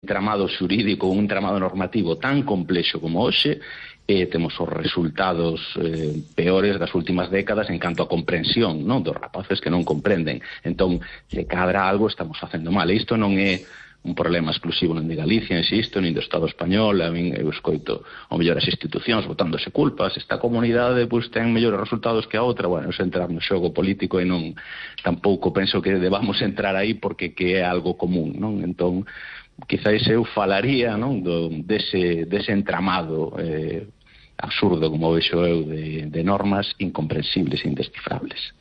entramado xurídico, un entramado normativo tan complexo como hoxe, temos os resultados peores das últimas décadas en canto a comprensión, non, dos rapaces que non comprenden. Entón, se cadra algo estamos facendo mal. E isto non é un problema exclusivo nin de Galicia, insisto, nin do Estado español. A min eu escoito ao mellor as institucións botándose culpas. Esta comunidade pois ten mellores resultados que a outra. Bueno, se entrar no xogo político e non, tampouco penso que debamos entrar aí porque que é algo común, non? Entón, quizáis eu falaría, non, dese entramado absurdo, como vexo eu, de normas incomprensibles e indescifrables.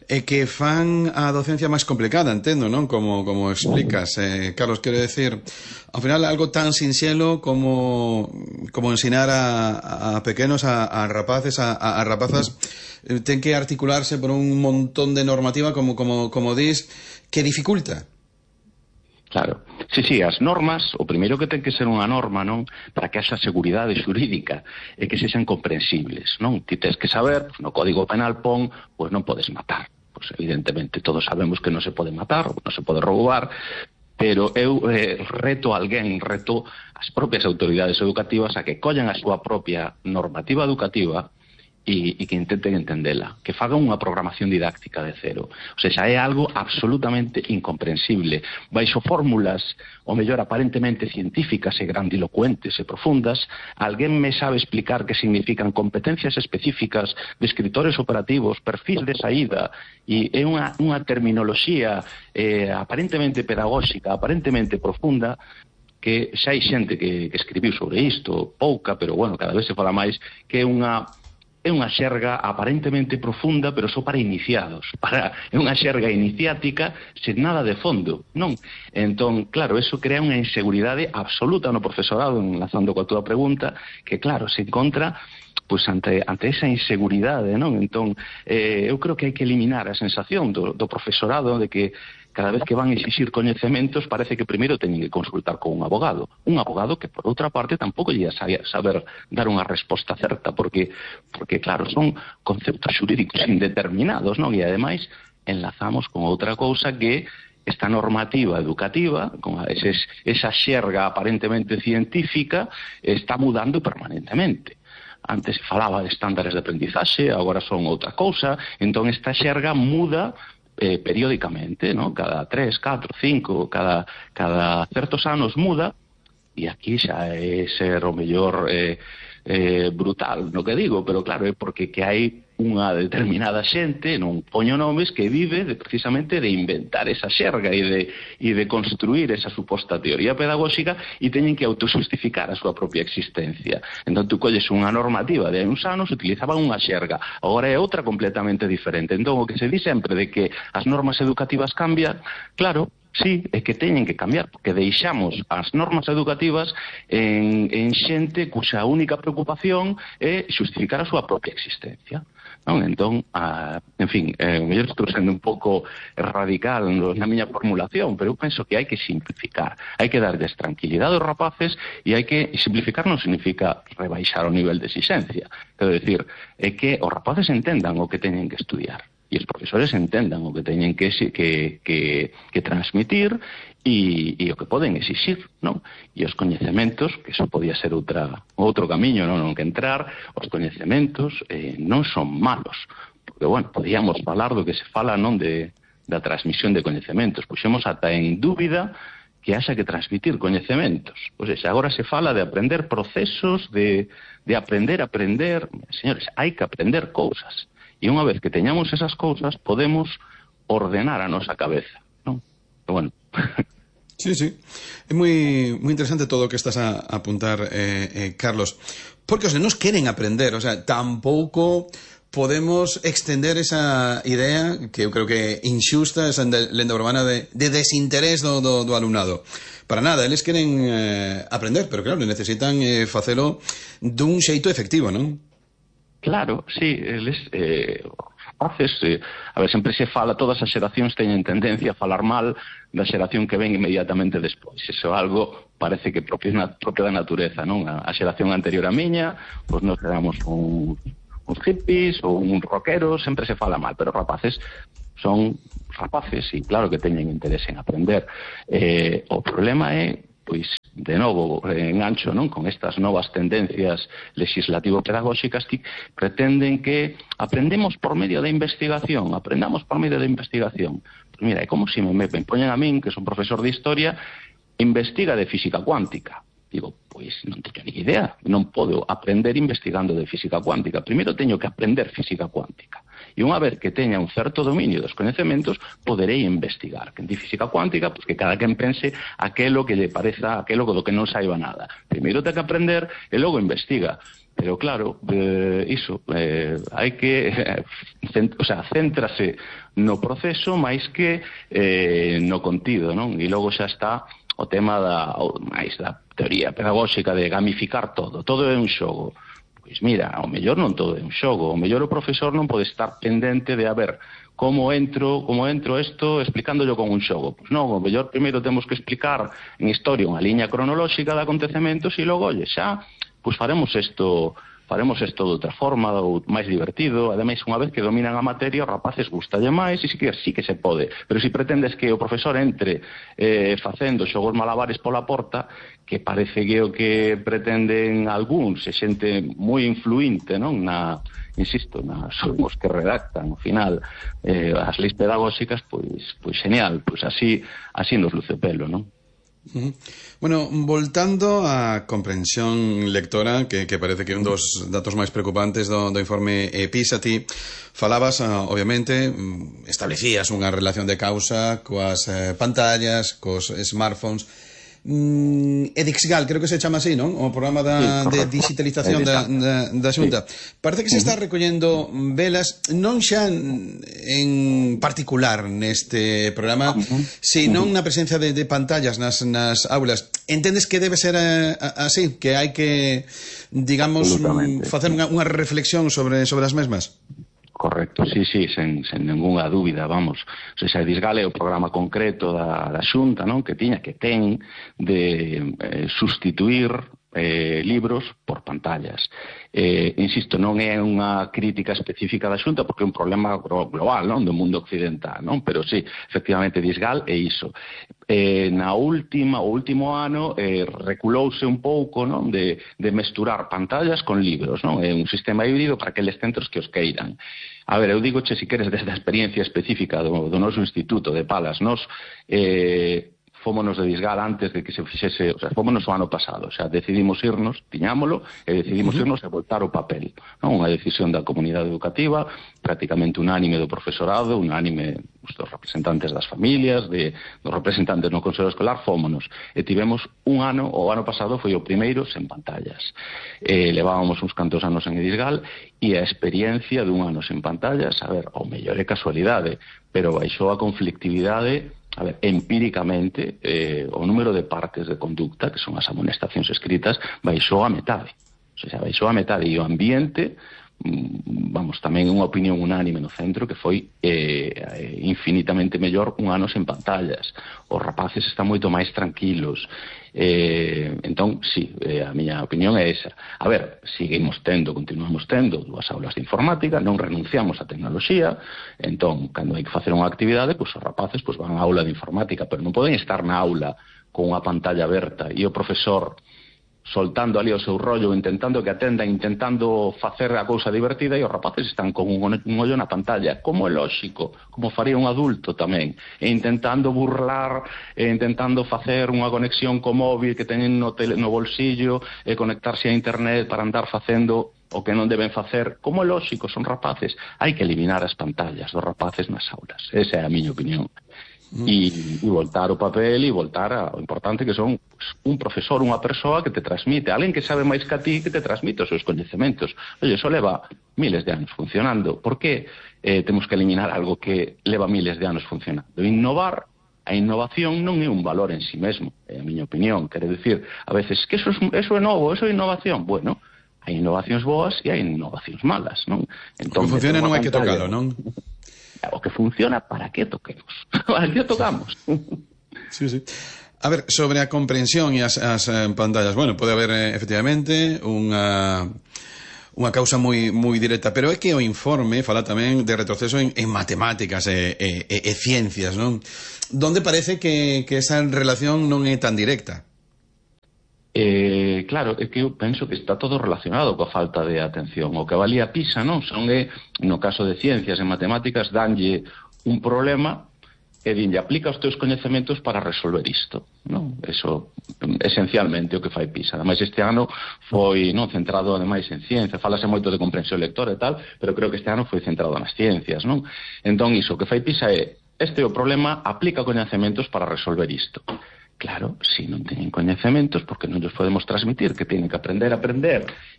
E que fan a docencia máis complicada, entendo, non? Como explicas, Carlos, quero decir, ao final algo tan sinxelo como ensinar a pequenos, a rapaces, a rapazas, ten que articularse por un montón de normativa, como dis, que dificulta. Claro, sí, as normas, o primeiro que ten que ser unha norma, non, para que haxa seguridade xurídica e que sexan comprensibles, non? Ti tens que saber, no Código Penal pon, pois non podes matar. Pois evidentemente todos sabemos que non se pode matar, non se pode roubar, pero eu reto as propias autoridades educativas a que collan a súa propia normativa educativa e que intenten entendela, que fagan unha programación didáctica de cero. O sea, é algo absolutamente incomprensible. Baixo fórmulas, o mellor aparentemente científicas e grandilocuentes e profundas, alguén me sabe explicar que significan competencias específicas de escritores operativos, perfil de saída, e é unha terminoloxía aparentemente pedagóxica, aparentemente profunda, que xa hai xente que escribiu sobre isto, pouca, pero bueno, cada vez se fala máis, que é unha xerga aparentemente profunda, pero só para iniciados. É unha xerga iniciática sen nada de fondo, non? Entón, claro, eso crea unha inseguridade absoluta no profesorado, enlazando coa túa pregunta, que, claro, se encontra pois ante esa inseguridade, non? Entón, eu creo que hai que eliminar a sensación do profesorado de que cada vez que van a exixir coñecementos parece que primeiro teñen que consultar con un abogado que por outra parte tampouco lle saber dar unha resposta certa, porque claro, son conceptos xurídicos indeterminados, non? E ademais enlazamos con outra cousa que esta normativa educativa, con esa xerga aparentemente científica, está mudando permanentemente. Antes se falaba de estándares de aprendizaxe, agora son outra cousa, entón esta xerga muda periódicamente, ¿no? Cada 3, 4, 5, cada certos anos muda, e aquí xa é ser o mellor brutal no que digo, pero claro, é porque que hai unha determinada xente, non poño nomes, que vive precisamente de inventar esa xerga e de construir esa suposta teoría pedagóxica e teñen que autojustificar a súa propia existencia. Entón, tú colles unha normativa de hai uns anos, utilizaban unha xerga, agora é outra completamente diferente. Entón, o que se di sempre de que as normas educativas cambian, claro, sí, é que teñen que cambiar, porque deixamos as normas educativas en xente cuxa única preocupación é xustificar a súa propia existencia, non? Entón, en fin, eu estou sendo un pouco radical na miña formulación, pero eu penso que hai que simplificar, hai que darles tranquilidade aos rapaces, e hai que simplificar non significa rebaixar o nivel de exigencia, quero decir, é que os rapaces entendan o que teñen que estudiar e os profesores entendan o que teñen que transmitir e o que poden exixir, non? E os coñecementos, que iso podía ser outro camiño, non que entrar, os coñecementos non son malos, porque, bueno, podíamos falar do que se fala, non, da transmisión de coñecementos, puxemos ata en dúbida que haxa que transmitir coñecementos. Pois agora se fala de aprender procesos, de aprender. Señores, hai que aprender cousas. E unha vez que teñamos esas cousas, podemos ordenar a nosa cabeza, non? Pero bueno. Sí. É moi interesante todo o que estás a apuntar, Carlos. Porque os nenos queren aprender, o sea, tampouco podemos extender esa idea que eu creo que inxusta, esa lenda urbana de desinterés do alumnado. Para nada, eles queren aprender, pero claro, necesitan facelo dun xeito efectivo, non? Claro, sí, eles rapaces, a ver, sempre se fala, todas as xeracións teñen tendencia a falar mal da xeración que ven inmediatamente despois. Iso é algo, parece que propio da natureza, non? A xeración anterior a miña, pois nos éramos uns hippies ou uns rockeros, sempre se fala mal, pero rapaces son rapaces e claro que teñen interés en aprender. O problema é pois, de novo, engancho, non, con estas novas tendencias legislativo-pedagóxicas que pretenden que aprendamos por medio da investigación. Pues mira, é como se me poñen a min, que son profesor de historia, investiga de física cuántica. Digo, pois non teño ni idea, non podo aprender investigando de física cuántica. Primeiro teño que aprender física cuántica. E unha vez que teña un certo dominio dos coñecementos, poderei investigar. Que en física cuántica, pois que cada quen pense aquelo que lle pareza, aquelo do que non saiba nada. Primeiro ten que aprender e logo investiga. Pero claro, hai que céntrase no proceso máis que no contido, non? E logo xa está o tema da teoría pedagóxica de gamificar todo é un xogo. Pois mira, ao mellor non todo é un xogo, ao mellor o profesor non pode estar pendente de a ver como entro isto explicándolo con un xogo. Pois non, ao mellor primeiro temos que explicar en historia unha liña cronolóxica de acontecementos e logo, xa, pois faremos isto de outra forma, ou máis divertido. Ademais, unha vez que dominan a materia, os rapaces gustalle máis e sí que se pode. Pero se pretendes que o profesor entre facendo xogos malabares pola porta, que parece que o que pretenden algúns, e xente moi influinte, non, son os que redactan ao final as leis pedagóxicas, pois genial, pois así nos luce o pelo, non? Bueno, voltando á comprensión lectora, que parece que é un dos datos máis preocupantes do informe PISA, ti falabas, obviamente, establecías unha relación de causa coas pantallas, cos smartphones. Edixgal, creo que se chama así, non? O programa de digitalización da Xunta. Parece que se está recollendo velas non xa en particular neste programa, senón na presencia de pantallas nas aulas. Entendes que debe ser así? Que hai que, digamos, facer unha reflexión sobre as mesmas? Correcto, sí, sen ninguna dúbida, vamos. O sea, Edixgal é o programa concreto da Xunta, non? Que ten de sustituir libros por pantallas. Insisto, non é unha crítica específica da Xunta porque é un problema global, non, do mundo occidental, non? Pero sí, efectivamente, Edixgal é iso. O último ano reculouse un pouco, non, de mesturar pantallas con libros, non? É un sistema híbrido para aqueles centros que os queiran. A ver, eu digo, se queres, desde a experiencia específica do noso instituto de Palas, fómonos de Edixgal antes de que se fixese, o sea, fómonos o ano pasado, o sea, decidimos irnos, tiñámolo, e decidimos irnos a voltar o papel, non? Unha decisión da comunidade educativa, prácticamente unánime do profesorado, unánime dos representantes das familias, dos representantes no Consello Escolar, fómonos, e tivemos o ano pasado foi o primeiro sen pantallas. Levábamos uns cantos anos en Edixgal, e a experiencia dun ano sen pantallas, a ver, ao mellor é casualidade, pero baixou a conflictividade. A ver, empíricamente, o número de partes de conducta, que son as amonestacións escritas, baixou a metade. O sea, baixou a metade. E o ambiente, tamén unha opinión unánime no centro, que foi infinitamente mellor un ano sen pantallas. Os rapaces están moito máis tranquilos. Entón, sí, a miña opinión é esa. A ver, continuamos tendo 2 aulas de informática, non renunciamos á tecnoloxía, entón, cando hai que facer unha actividade, os rapaces van á aula de informática, pero non poden estar na aula con unha pantalla aberta e o profesor soltando ali o seu rollo, intentando que atendan, intentando facer a cousa divertida, e os rapaces están con un ollo na pantalla, como é lóxico, como faría un adulto tamén, e intentando burlar, e intentando facer unha conexión co móvil que teñen no bolsillo, e conectarse a internet para andar facendo o que non deben facer. Como é lóxico, son rapaces. Hai que eliminar as pantallas dos rapaces nas aulas. Esa é a miña opinión. E voltar ao papel e voltar ao importante que son un profesor, unha persoa que te transmite, alguén que sabe máis que a ti, que te transmite os seus coñecementos. Oye, eso leva miles de anos funcionando. Por que temos que eliminar algo que leva miles de anos funcionando? Innovar, a innovación non é un valor en sí mesmo, é a miña opinión. Quere dicir, a veces, que eso é novo, eso é innovación. Bueno, hai innovacións boas e hai innovacións malas, non? Entón, o que funciona non hai que tocalo, non? O que funciona, ¿para qué toquemos? ¿Para qué tocamos? Sí. A ver, sobre a comprensión e as pantallas, bueno, pode haber efectivamente unha causa moi directa, pero é que o informe fala tamén de retroceso en matemáticas e ciencias, non? Donde parece que esa relación non é tan directa. Claro, é que eu penso que está todo relacionado coa falta de atención. O que valía PISA, non? No caso de ciencias e matemáticas, danlle un problema e dinlle aplica os teus coñecementos para resolver isto, non? Eso, esencialmente, o que fai PISA. Ademais, este ano foi centrado, ademais, en ciencia. Fálase moito de comprensión lectora e tal, pero creo que este ano foi centrado nas ciencias, non? Entón, iso, o que fai PISA é, este é o problema, aplica coñecementos para resolver isto. Claro, se non teñen coñecementos, porque non os podemos transmitir, que teñen que aprender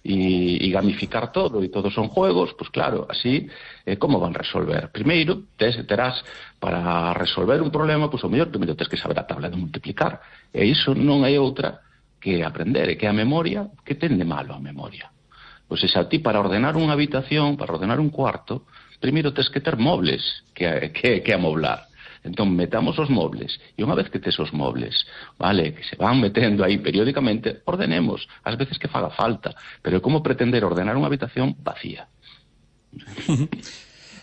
e gamificar todo, e todos son juegos, pues claro, así, como van resolver? Primeiro, terás, para resolver un problema, pues o mellor, primeiro tens que saber a tabla de multiplicar, e iso non hai outra que aprender, e que a memoria, que ten de malo a memoria? Pois xa ti, para ordenar unha habitación, para ordenar un cuarto, primeiro tens que ter mobles que amoblar. Entón, metamos os mobles, e unha vez que tes os mobles, vale, que se van metendo aí periódicamente, ordenemos, ás veces que faga falta, pero como pretender ordenar unha habitación vacía?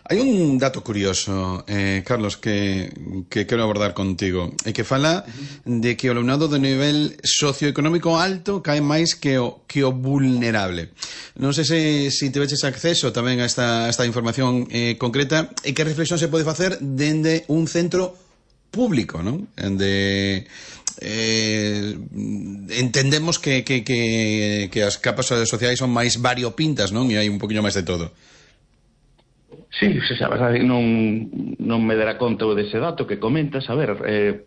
Hai un dato curioso, Carlos, que quero abordar contigo, e que fala de que o alumnado de nivel socioeconómico alto cae máis que o vulnerable. Non sei se tiveches acceso tamén a esta información concreta, e que reflexión se pode facer dende un centro público, non? Entendemos que as capas sociais son máis variopintas, non? E hai un poquinho máis de todo. Sí, a verdade, non me dará conta dese dato que comentas. A ver,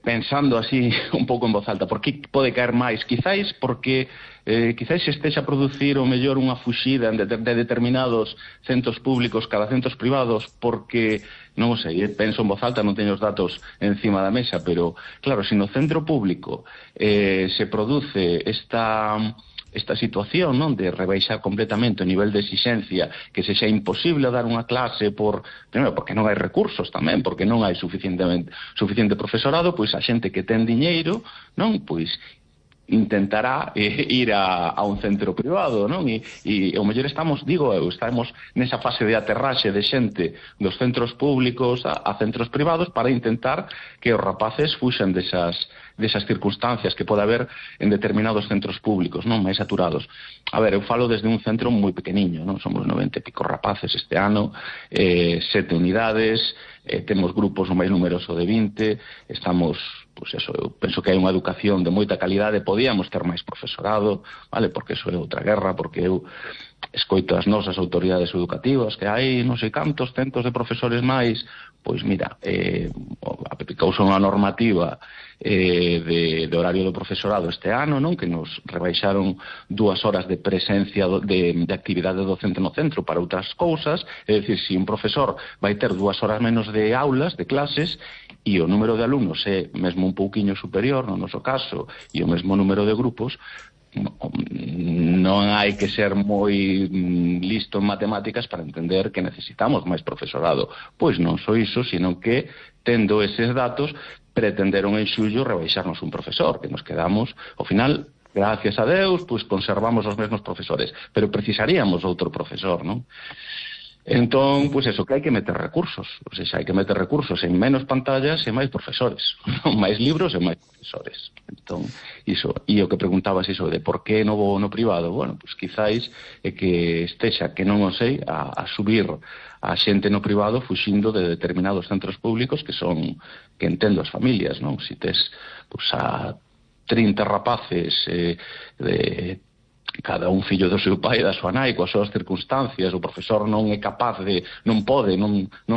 pensando así un pouco en voz alta, por que pode caer máis? Quizáis porque quizáis se estexa a producir o mellor unha fuxida de determinados centros públicos cada centros privados, porque, non o sei, penso en voz alta, non teño os datos encima da mesa, pero claro, se no centro público se produce esta situación, non, de rebaixar completamente o nivel de exixencia, que se xa imposible dar unha clase primeiro, porque non hai recursos tamén, porque non hai suficiente profesorado, pois a xente que ten diñeiro, non, pois intentará ir a un centro privado, non? E o mellor estamos nesa fase de aterraxe de xente dos centros públicos a centros privados para intentar que os rapaces fuxan desas circunstancias que pode haber en determinados centros públicos, non, máis saturados. A ver, eu falo desde un centro moi pequeniño, non? Somos 90 e pico rapaces este ano, 7 unidades, temos grupos o máis numeroso de 20, estamos, pois eso, eu penso que hai unha educación de moita calidade, podíamos ter máis profesorado, vale, porque eso é outra guerra, porque eu escoito as nosas autoridades educativas que hai non sei cantos centos de profesores máis, pois mira, aplicouse unha normativa de horario do profesorado este ano, non, que nos rebaixaron 2 horas de presencia de actividade docente no centro para outras cousas, é dicir, se un profesor vai ter 2 horas menos de aulas, de clases, e o número de alumnos é mesmo un pouquiño superior, no noso caso, e o mesmo número de grupos, non hai que ser moi listo en matemáticas para entender que necesitamos máis profesorado. Pois non só iso, sino que, tendo eses datos, pretenderon en xullo rebaixarnos un profesor, que nos quedamos, ao final, gracias a Deus, pois conservamos os mesmos profesores, pero precisaríamos outro profesor, non? Entón, pois eso, que hai que meter recursos, ou seja, hai que meter recursos en menos pantallas e máis profesores, máis libros e máis profesores. Entón, iso, e o que preguntabas iso de por que no privado, bueno, pois quizáis é que estexa, que non o sei, a subir a xente no privado fuxindo de determinados centros públicos que entendo as familias, non? Se tes, pois, a 30 rapaces de cada un fillo do seu pai e da súa nai coas súas circunstancias, o profesor non é capaz non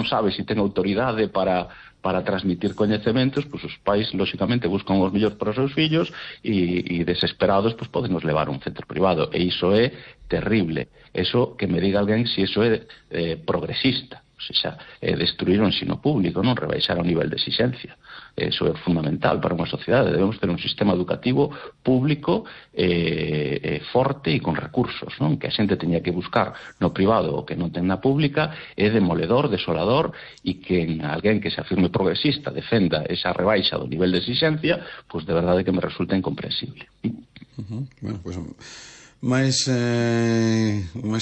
sabe se ten autoridade para transmitir coñecementos, pois os pais lóxicamente buscan os mellores para os seus fillos e desesperados pois poden nos levar a un centro privado, e iso é terrible. Eso, que me diga alguén se iso é progresista, ou seja, é destruir o ensino público, non rebaixar o nivel de exigencia. Eso é fundamental para unha sociedade. Debemos ter un sistema educativo público forte e con recursos, non? Que a xente teña que buscar no privado o que non ten na pública é demoledor, desolador, e que alguén que se afirme progresista defenda esa rebaixa do nivel de exigencia, pois de verdade que me resulta incomprensible. Bueno, pois máis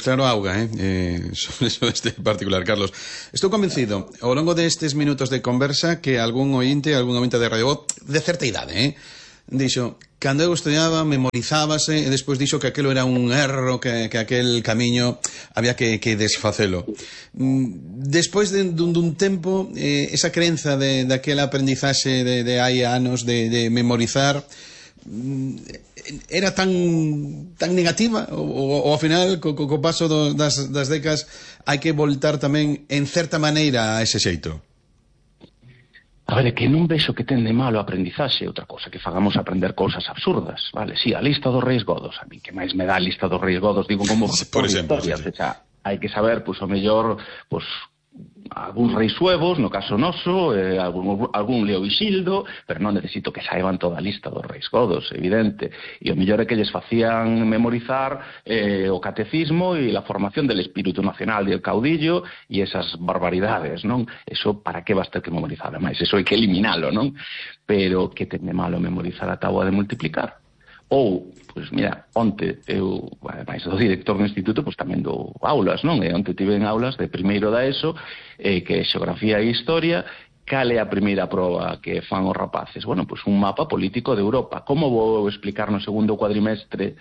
claro auga sobre este particular, Carlos. Estou convencido ao longo destes minutos de conversa que algún ointe de Radio Voz de certa idade dixo, cando eu estudiaba memorizábase e despois dixo que aquelo era un erro, que aquel camiño había que desfacelo. Despois dun tempo, esa crenza daquela aprendizaxe de hai anos de memorizar era tan negativa ou ao final co paso das décadas hai que voltar tamén en certa maneira a ese xeito? A ver, é que non vexo que ten de malo a aprendizaxe, outra cosa que fagamos aprender cousas absurdas, vale? Si, a lista dos reis godos, a mí que máis me dá a lista dos reis godos, digo como por exemplo, historias, sí. Hai que saber, pois, o mellor, pois, algúns reis suevos, no caso noso, algún Leovixildo, pero non necesito que saiban toda a lista dos reis godos, evidente. E o mellor é que lles facían memorizar o catecismo e a formación del espírito nacional del caudillo e esas barbaridades, non? Eso, para que vas ter que memorizar? Ademais, eso hai que eliminalo, non? Pero que ten de malo memorizar a táboa de multiplicar? Ou, pois mira, onte eu, ademais do director do instituto, pois tamén dou aulas, non? E onte tive en aulas de primeiro da ESO, que é xeografía e historia. Cal é a primeira proba que fan os rapaces? Bueno, pois un mapa político de Europa. Como vou explicar no segundo cuadrimestre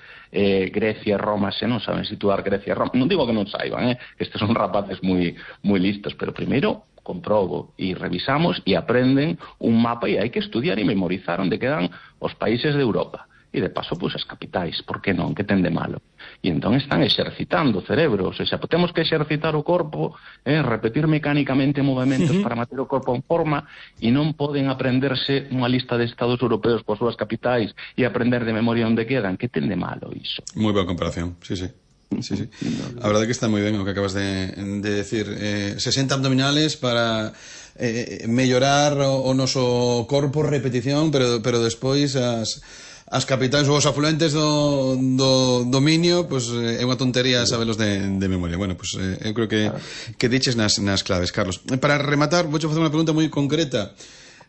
Grecia e Roma se non saben situar Grecia e Roma? Non digo que non saiban, que estes son rapaces moi listos, pero primeiro comprobo e revisamos e aprenden un mapa e hai que estudiar e memorizar onde quedan os países de Europa. E de paso, pois, as capitais, por que non? Que ten de malo? E entón están exercitando o cerebro, ou seja, temos que exercitar o corpo, repetir mecánicamente movimentos para manter o corpo en forma, e non poden aprenderse unha lista de estados europeos coas súas capitais e aprender de memoria onde quedan. Que ten de malo iso? Moi boa comparación, sí. A verdade é que está moi ben o que acabas de decir. 60 abdominales para mellorar o noso corpo, repetición, pero despois as capitais ou os afluentes do dominio, pois é unha tontería sabelos de memoria. Bueno, pois eu creo que diches nas claves, Carlos. Para rematar, vou facer unha pregunta moi concreta.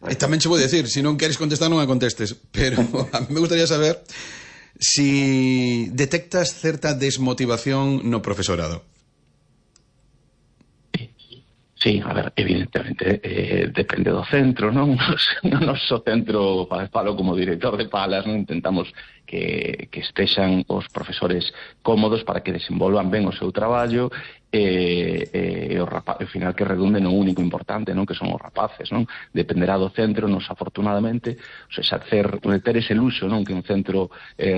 E tamén che vou decir, se non queres contestar non a contestes, pero a mí me gustaría saber si detectas certa desmotivación no profesorado. Sí, a ver, evidentemente depende do centro, non? No noso centro, falo como director de Palas, non intentamos que estexan os profesores cómodos para que desenvolvan ben o seu traballo e ao final que redunde no único importante, non? Que son os rapaces, non? Dependerá do centro, nos afortunadamente, o sea, ter ese luxo, non? Que un centro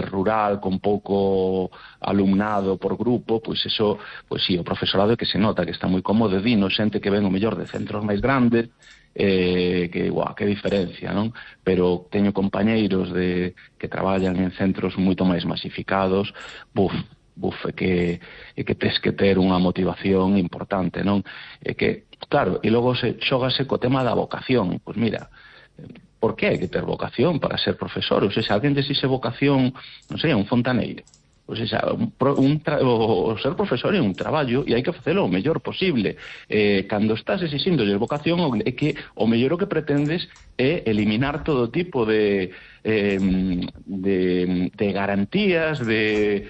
rural con pouco alumnado por grupo, pois eso, pois sí, o profesorado é que se nota que está moi cómodo, dino xente que ven o mellor de centros máis grandes, que diferencia, non? Pero teño compañeiros que traballan en centros moito máis masificados, é que tes que ter unha motivación importante, non? É que, claro, e logo xógase co tema da vocación. Pois mira, por que hai que ter vocación para ser profesor? Ou seja, alguén desixe vocación, non sei, un fontaneiro. Ou seja, o ser profesor é un traballo e hai que facelo o mellor posible. Cando estás exixíndolle vocación, é que o mellor o que pretendes é eliminar todo tipo de garantías, de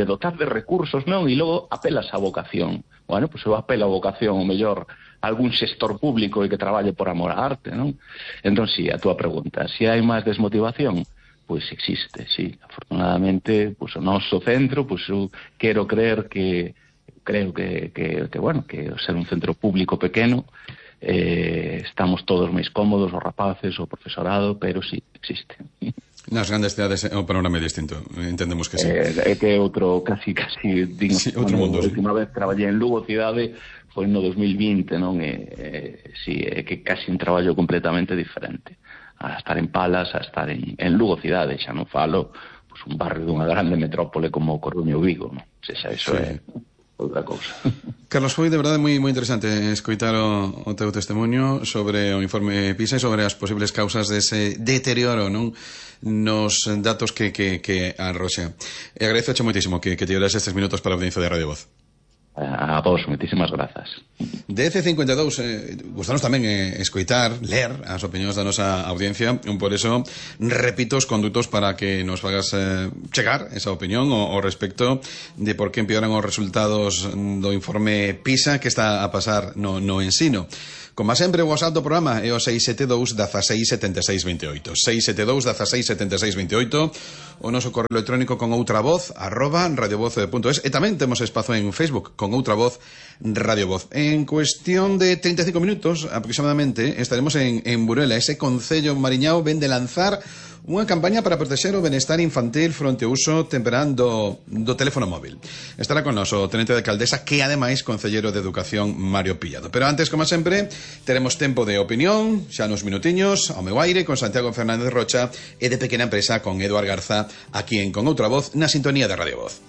dotar de recursos, non? E logo apelas á vocación. Bueno, pois eu apelo á vocación, o mellor algún xestor público e que traballe por amor á arte, non? Entón, sí, a túa pregunta, se hai máis desmotivación, pois existe, sí. Afortunadamente, pois o noso centro, pois eu quero creer que creo que bueno, que ser un centro público pequeno, estamos todos máis cómodos, os rapaces, o profesorado, pero sí, existe. Nas grandes cidades o panorama é distinto, entendemos que sí. É que outro, casi, digo, sí, outro mundo. A última vez traballei en Lugo cidade, foi no 2020, non? Sí, é que casi un traballo completamente diferente. A estar en Palas, a estar en Lugo cidade, xa non falo, pues, un barrio dunha grande metrópole como Coruña ou Vigo, non? O sea, eso é outra cousa. Carlos, foi de verdade moi interesante escoitar o teu testemunho sobre o informe PISA e sobre as posibles causas dese deterioro, non? Nos datos que arroxa. E agradezo moitísimo que te dieras estes minutos para a audiencia de Radio Voz. A vos, moitísimas grazas. DC52, gustanos tamén escoitar, ler as opinións da nosa audiencia, por eso repito os condutos para que nos fagas chegar esa opinión ao respecto de por que empeoran os resultados do informe PISA que está a pasar no ensino. Como sempre, o WhatsApp do programa é o 672 16 76 28. 672 16 76 28. O noso correo electrónico con outra voz @radiovoz.es. E tamén temos espazo en Facebook con outra voz Radio Voz. En cuestión de 35 minutos aproximadamente estaremos en Burela. Ese concello mariñao ven de lanzar unha campaña para protexer o benestar infantil fronte ao uso temperado do teléfono móvil. Estará con nos o tenente de alcaldesa, que ademais concellero de Educación, Mario Pillado. Pero antes, como sempre, teremos tempo de opinión, xa nos minutiños, ao meu aire, con Santiago Fernández Rocha, e de Pequena Empresa con Eduard Garza, aquí en Con Outra Voz, na sintonía de Radio Voz.